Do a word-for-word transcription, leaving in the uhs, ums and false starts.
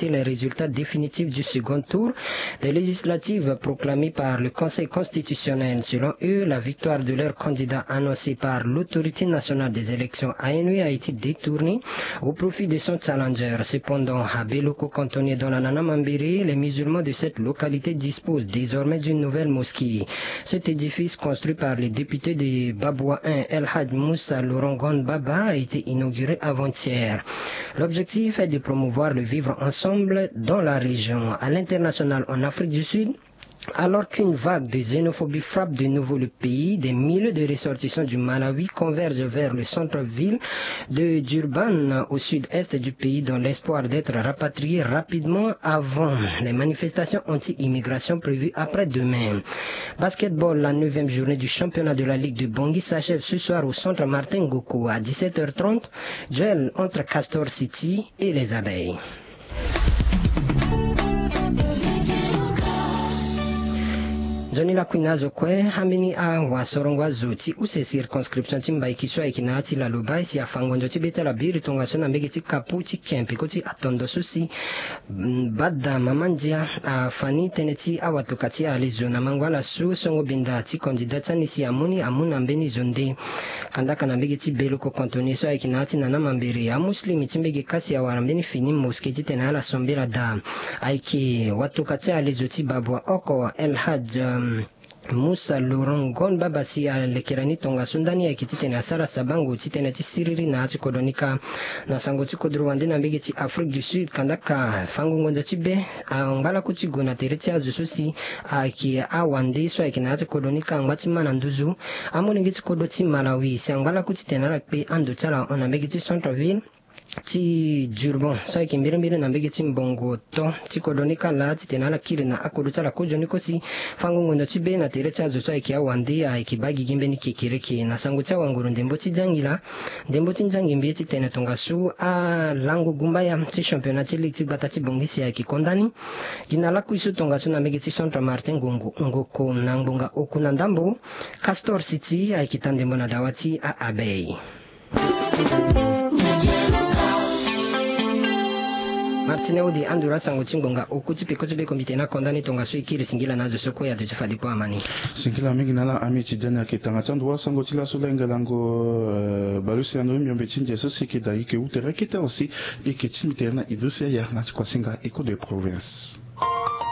les résultats définitifs du second tour des législatives proclamées par le Conseil constitutionnel. Selon eux, la victoire de leur candidat annoncée par l'Autorité nationale des élections, A N E, a été détournée au profit de son challenger. Cependant, à Beloko, cantonnier dans la Nana Mambéré, les musulmans de cette localité disposent désormais d'une nouvelle mosquée. Cet édifice, construit par les députés de Baboua un, El Hadj Moussa Lorongon Baba, a été inauguré avant-hier. L'objectif est de promouvoir le vivre ensemble dans la région. À l'international, en Afrique du Sud, alors qu'une vague de xénophobie frappe de nouveau le pays, des milliers de ressortissants du Malawi convergent vers le centre-ville de Durban, au sud-est du pays, dans l'espoir d'être rapatriés rapidement avant les manifestations anti-immigration prévues après-demain. Basketball, la neuvième journée du championnat de la Ligue de Bangui s'achève ce soir au centre Martin Ngoko à dix-sept heures trente. Duel entre Castor City et les Abeilles. Nzoni lakui na azo kue, ambeni awasorongo azo ti use circonscription ti Mbaiki so ayeke na ya ti Laloba, e si afa ngonzo ti be ti ala biri tongaso na mbege ti kapu ti kempe ko ti atondo so si, mm, bada mama ndia afa ni tënë ti awatoka ti alezo na mango ala so songo benda ti kandida ti ani si amu ni amu na mbeni zo nde. Kandaka na mbege ti Beloko, cantonnier so ayeke na ya ti Nana Mambéré, amuslim ti mbege kasi awara mbeni fini mosquée titene ala sambela daa. Ayeke watoka ti alezo ti Baboua oko, El Hadj, um, Moussa Laurent Gon Baba si alekere ni tongaso ndani ayeke titene asara sabango ti tënë ti siriri na ya ti kodro ni kâ. Na sango ti kodro wande na mbege ti Afrique du Sud, kandaka fango ngonzo ti be angba laku ti gue na tere ti azo so si ayeke awande so ayeke na ya ti kodro ni kâ angba ti ma na nduzu amolenge ti kodro ti Malawi si angba laku titene ala kpe ando ti ala hon na mbege ti centre-ville ti Durban so ayeke mbirimbiri na mbege ti mbongo to ti kodro ni kâ laa titene ala kiri na akodro ti ala kozoni kosi. Fango ngonzo ti be na tere ti azo so ayeke awande ayeke baa gigi mbeni kekereke. Na sango ti awanguru ndembo ti jangila, ndembo ti nzangi mbi ye titene tongaso alango gumbaya ti championnat ti ligue ti gbata ti Bangui si ayeke konda ni. Gi na lakui so tongaso na mbege ti centre Martin Ngongo, Ngoko na ngbonga oku na ndambo, Castor City ayeke taa ndembo na dawa ti a-Abeille. Martine Audi, anduru asango ti ngbonga oku ti peko ti be komite na konda ni tongaso e kiri singila na azo so kue ato ti fade kue amani. Singila mingi na ala ami ti dani ayeke tanga ti ando wa sango ti laso la engelango, eh, baleuse yano miombe ti ndia so si e yeke daa e yeke wu tere akete awe si e yeke ti mbi tere na Idriss Yaya na ti kuasinga Echo de Province.